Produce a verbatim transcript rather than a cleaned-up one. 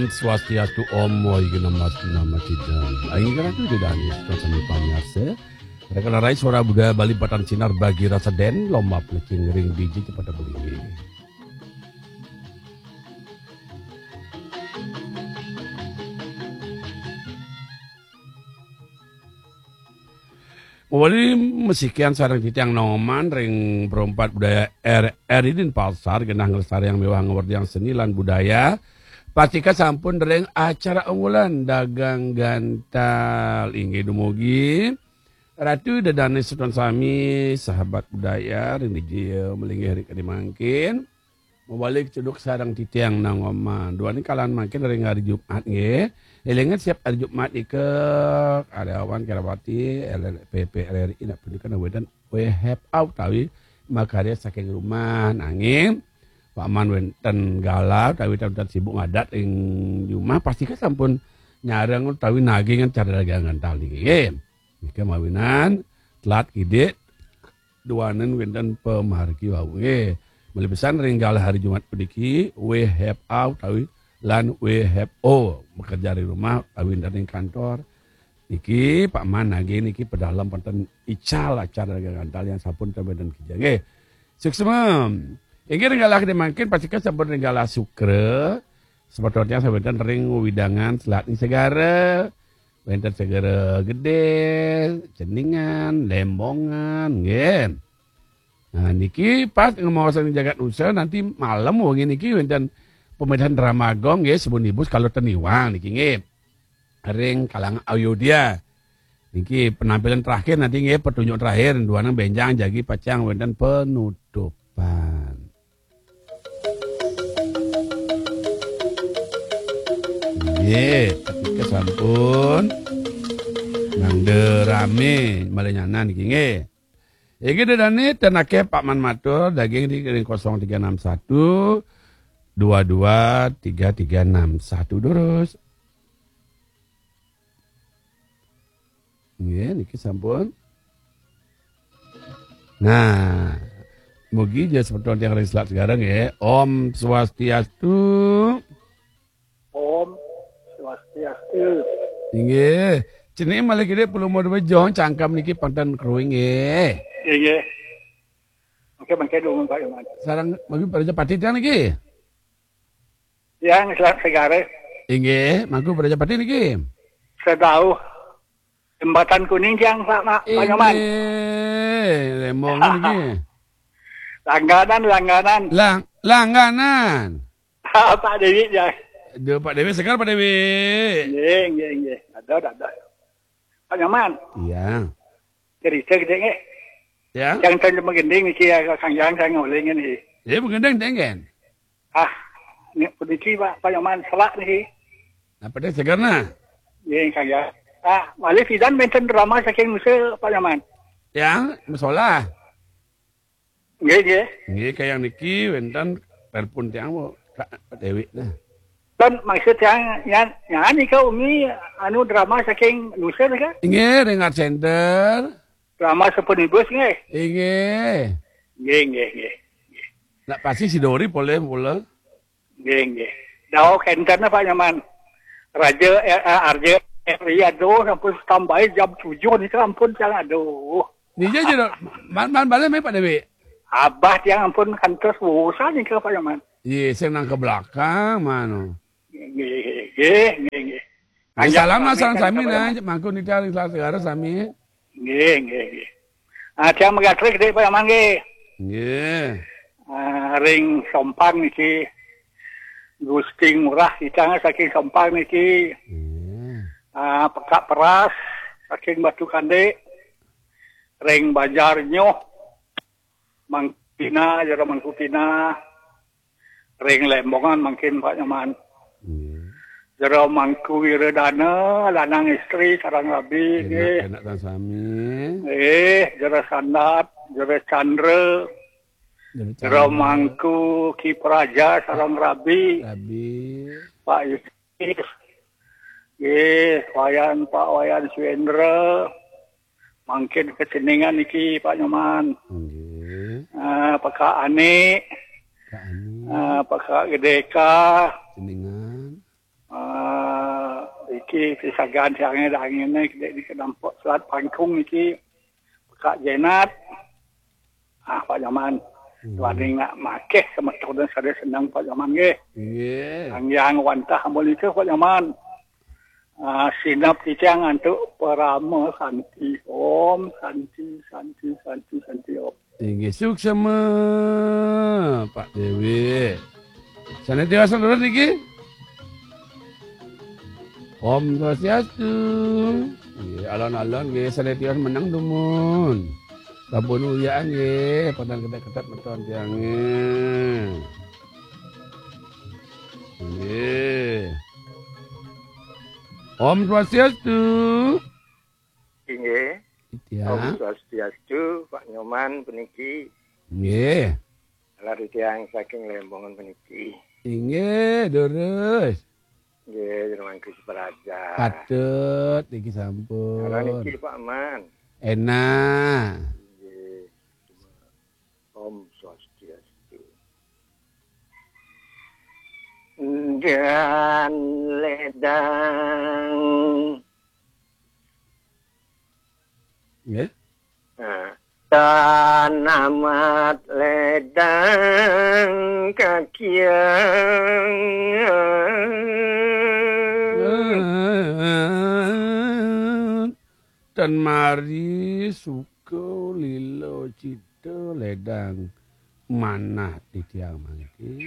Swastiastu, Om Mohi Genam Astu Nama Cidam. Aing Ratu Ida Dané, sami pamiarsa. Raka larai suara budaya Bali patan sinar bagi rasa den, lomba pelecing ring biji cepata belinggih. Wali mesikian sareng titiang nongoman ring Perempat Budaya R R I Denpasar, genah nglestariang miwah ngawerdiang seni lan budaya. Pastika sampun ring acara unggulan dagang gantal. Inggih dumugi. Ratu Ida Dané semeton sami, sahabat budaya, ring dija malinggih ring kadi mangkin. Mawali ceduk sareng titiang nongoman. Duaning kalahan mangkin ring hari Jumat nggih. Élingang siap hari Jumat nika karyawan Kerawati L L P P R R I nak punika wénten W H A utawi makarya saking rumah. Nanging paman wénten galah utawi wénten sibuk ngadat ring jumah, pastika sampun nyareng utawi naging acara dagang gantal niki nggih. Nika mawinan telat kidik duaning wénten pamargi wau nggih. Malih pisan ring galah hari Jumat puniki, W H A utawi lan W H O, bekerja di rumah utawi wénten ring kantor. Niki Pak Man nagih niki pedalem wénten ical acara dagang gantal yang sampun ten wénten kija nggih. Suksma. Inggih ring galah kadi mangkin pastika sampun ring galah Sukra. Semeton tiang sampun wénten ring wewidangan selat ing segara. Wénten Segara Gedé, Ceningan, Lembongan, nggih. Nah, niki pas ngemaosan jagat nusa, nanti malem wengi niki wénten pemedhan drama gong nggih, Sebunibus Kala Teniwang niki nggih. Ring kalangan Ayodya. Niki penampilan terakhir nanti nggih, petunjuk terakhir, duaning bénjang jagi pacang wénten penutupan. Nggih, ketika sampun mangda ramé malih nyanan niki nggih. Inggih Ida Dané, ten akéh Pak Man matur, daging di ring kosong tiga enam satu, dua dua tiga tiga enam satu durus. Nggih, niki sampun. Nah, mugi ja semeton tiang ring selat segara nggih. Om Swastiastu. Om Swastiastu. Inggih. Ceningé malih kidik pelumur bejo cangkem niki pang ten kruing nggih. Inggih. Oke, mangke dumun Pak Iman. Sareng mangku Prajapati tiang niki. Tiang selat segara. Inggih, mangku Prajapati niki. Sedauh Jembatan Kuning tiang Pak, Pak, Pak Nyoman. Inggih, Lembong niki. Langganan, langganan. Lang-, langganan. Pak Dewi ya. Aduh, Pak Dewi segar, Pak Dewi. Nggih, nggih, nggih. Ada, ada. Pak Nyoman. Iya. Cerita gedé nggih. Ya. Yang saya menggending niki ya, Kang Jang, saya ngolingin niki. Ya, menggending, dengen. Ah, ini puniki Pak, Pak Nyoman, selak niki. Apa dia segar nah? Nggih, Kang Jang. Ah, malih pidan wénten drama saking nusa, Pak Nyoman. Ya, musola. Nggih, nggih. Nggih, kayang niki wénten telepon tiang, Bu. Kak Dewi nah. Kan maksud tiang, nyan, nyan nika umi anu drama saking nusa nika? Inggih, ring Art Center. Drama Sepunibus nggih? Inggih. Nggih, nggih, nggih. Nak pasti si Dori polih mula. Nggih, nggih. Daweg énten Pak Nyoman. Raja, eh, eh, Arja, eh, iya, aduh, ampun, tambahi jam tujuh nika, ampun, tiang, aduh. Nija ja, man, man balik mé Pak Dewi. Abah tiang ampun kantos bosan nika Pak Nyoman. Iya, sing nang ke belakang, mano. Nggih, nggih, nggih, nggih. Nggih, salam lah, salam sami nah, mangku nitih ring Selat Segara sami. Nggih, nggih, nggih. Ah, tiang megatrik dik Pak Nyoman nggih. Nggih. Ah, ring Sompang niki. Gusti Ngurah kita saking Sompang niki. Nggih. Ah, Pekak Peras saking Batu Kande. Ring Banjar Nyuh. Mangkupina, Jero Mangkupina. Ring Lembongan mangkin Pak Nyoman. Nggih. Jero Mangku Wiradana, lanang istri sareng rabi, nggih. Enak, enak tan sami. Nggih, Jero Sandat, Jero Chandra, Jero Chandra. Mangku Ki Praja sareng rabi. Rabi. Pak Yusuf. Nggih, Wayan, Pak Wayan Suendra. Mangkin ke Ceningan niki, Pak Nyoman. Nggih. Ah, Pekak Ani. Kak Ani. Ah, Pekak Gedeka. Ceningan. Niki pisagan tiangé dangéné gedé di kedampok selat Pangkung niki. Kak Jenat. Ah, Pak Nyoman. Hmm. Wani nak makeh semeton sada seneng Pak Nyoman nggih. Nggih. Yang wantah amun itu Pak Nyoman. Ah, sinep titiang antuk parama santi. Om santi, santi, santi, santi, Om. Inggih, suksma, Pak Dewi. Sané tiwas lurus niki. Om Swastiastu. Nggih, alon-alon nggih, sané tiwas meneng dumun. Sampun uyaan nggih, padahal ketat-ketat meton tiangé. Nggih. Om Swastiastu. Inggih. Titiang. Om Swastiastu, Pak Nyoman puniki. Nggih. Kala titiang saking Lembongan puniki. Inggih, durus. Nggih, terima kasih Praja. Patut niki sampun. Kala niki Pak Man. Enak. Nggih. Om Swastiastu. Dan ledang. Nggih. Nah, tan amat ledang kakiang. Tan mari suka lila cita ledang manah titiang mangke.